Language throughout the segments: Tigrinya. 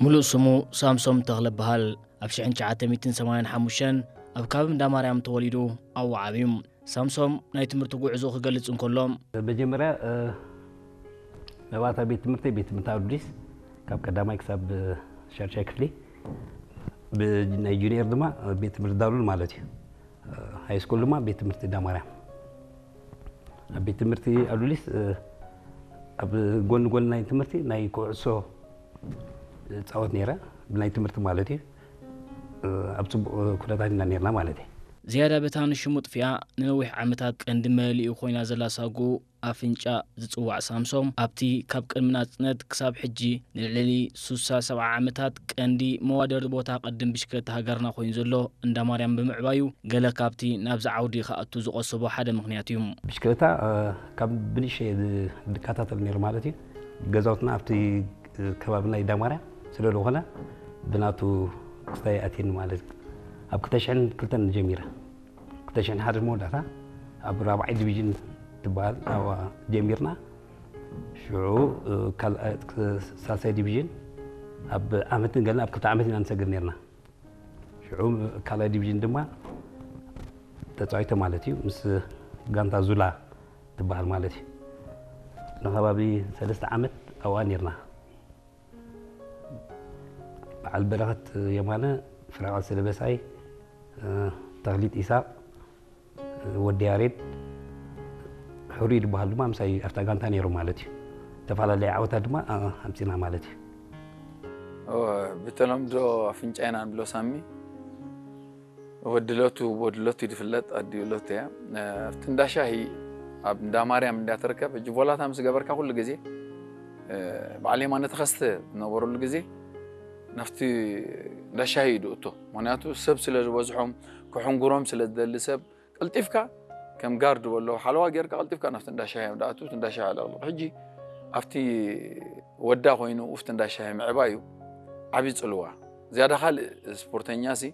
ሙሉእ ስሙ ሳምሶም ተኽለ በሃል። ኣብ ሽሕን ትሽዓተ ሚእትን ሰማንያን ሓሙሽተን ኣብ ከባቢ እንዳ ማርያም ተወሊዱ ኣብኡ ዓብዩ። ሳምሶም ናይ ትምህርቲ ጉዕዞ ክገልጽ እንከሎ፣ መጀመርያ መባእታ ቤት ትምህርቲ ቤት ትምህርቲ ኣዱሊስ ካብ ቀዳማይ ክሳብ ሻድሻይ ክፍሊ፣ ብናይ ጁኒየር ድማ ቤት ትምህርቲ ዳሉል ማለት እዩ። ሃይ ስኩል ድማ ቤት ትምህርቲ እንዳ ማርያም። ኣብ ቤት ትምህርቲ ኣዱሊስ ኣብ ጎኒ ጎኒ ናይ ትምህርቲ ናይ ኩዕሶ እፃወት ነይረ፣ ብናይ ትምህርቲ ማለት እዩ። ኣብ ፅቡቕ ኩነታት ኢና ነርና ማለት እዩ። ዝያዳ በታ ንሽሙ ጥፊኣ ንነዊሕ ዓመታት ቀንዲ መለሊኡ ኮይና ዘላ ሳጉ ኣፍንጫ ዝጽዋዕ ሳምሶም ኣብቲ ካብ ቅድሚ ናጽነት ክሳብ ሕጂ ንልዕሊ ሱሳ ሰብዓ ዓመታት ቀንዲ መዋደርቲ ቦታ ቅድም ብሽክለታ ሃገርና ኮይኑ ዘሎ እንዳ ማርያም ብምዕባዩ ገለ ካብቲ ናብዚ ዓውዲ ክኣቱ ዝቐሰቦ ሓደ ምኽንያት እዩ። ብሽክለታ ካብ ብንእሽተይ ዝከታተል ነይሩ ማለት እዩ። ገዛውትና ኣብቲ ከባቢ ናይ እንዳ ማርያም ስለ ዝኾነ ብናቱ ክስታይ ኣትየኒ ማለት እዩ። ኣብ ክልተ ሽሕን ክልተን ጀሚረ። ክልተ ሽሕን ሓደ መወዳእታ ኣብ ራብዓይ ዲቪዥን ትበሃል ኣብኣ ጀሚርና። ሽዑ ካልኣይ ሳልሳይ ዲቪዥን ኣብ ዓመትን ገለን ኣብ ክልተ ዓመት ኢና ንሰግር ነርና። ሽዑ ካልኣይ ዲቪዥን ድማ ተፃዊተ ማለት እዩ ምስ ጋንታ ዙላ ትበሃል ማለት እዩ። ንከባቢ ሰለስተ ዓመት ኣብኣ ነርና። በዓል በረኸት የማነ፣ ፍረቐ ስለበሳይ፣ ተኽሊት ኢሳቕ፣ ወዲ ያሬድ፣ ሕሩይ ዝበሃል ድማ ምሳይ ኣብታ ጋንታ ነይሩ ማለት እዩ። ዝተፈላለዩ ዓወታት ድማ ኣምፂና ማለት እዩ። ብተለምዶ ኣፍንጫ ኢና ንብሎ ሳሚ። ወዲ ሎቱ፣ ወዲ ሎቱ እዩ ዝፍለጥ፣ ኣዲኡ ሎቱ እያ። ኣብቲ እንዳ ሻሂ ኣብ እንዳ ማርያም እንዳ ትርከብ፣ ሕጂ ቮላታ ምስ ገበርካ ኩሉ ግዜ በዓል የማነ ተኸስተ ዝነበረሉ ግዜ ናብቲ እንዳ ሻሂ እዩ ዝእቶ። ምኽንያቱ ሰብ ስለ ዝበዝሖም፣ ክሕንጉሮም ስለ ዝደሊ ሰብ፣ ቀልጢፍካ ከም ጋርድ በሎ ሓለዋ ጌርካ ቀልጢፍካ ናብቲ እንዳ ሻሂ እዮም ዝኣትዉ፣ እቲ እንዳ ሻሂ ኣለቕልቕ። ሕጂ ኣብቲ ወዳ ኮይኑ ኡፍቲ እንዳ ሻሂ ምዕባዩ ዓብዪ ጽልዋ። ዝያዳ ካልእ ስፖርተኛ ሲ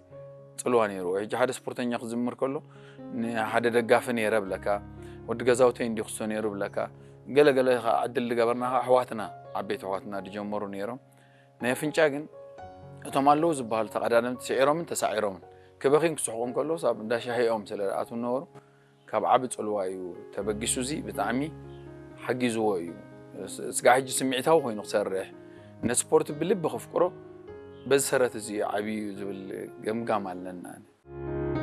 ጽልዋ ነይርዎ። ሕጂ ሓደ ስፖርተኛ ክዝምር ከሎ ንሓደ ደጋፊ ነይረ ብለካ፣ ወዲ ገዛውተይ እንዲ ክስቶ ነይሩ ብለካ፣ ገለ ገለ ከኣ ዕድል ዝገበርና ከኣ ኣሕዋትና፣ ዓበይቲ ኣሕዋትና ዝጀመሩ ነይሮም። ናይ ኣፍንጫ ግን እቶም ኣለዉ ዝበሃሉ ተቐዳደምቲ ስዒሮምን ተሳዒሮምን ክበኽዩን ክስሕቑን ከለዉስ ኣብ እንዳ ሻሂ እዮም ስለ ዝኣትዉ ዝነበሩ ካብ ዓቢ ጽልዋ እዩ ተበጊሱ። እዚ ብጣዕሚ ሓጊዝዎ እዩ። ስጋዕ ሕጂ ስምዒታዊ ኮይኑ ክሰርሕ፣ ነቲ ስፖርት ብልቢ ከፍቅሮ በዚ ሰረት እዚ እዩ ዓብዩ ዝብል ገምጋም ኣለና።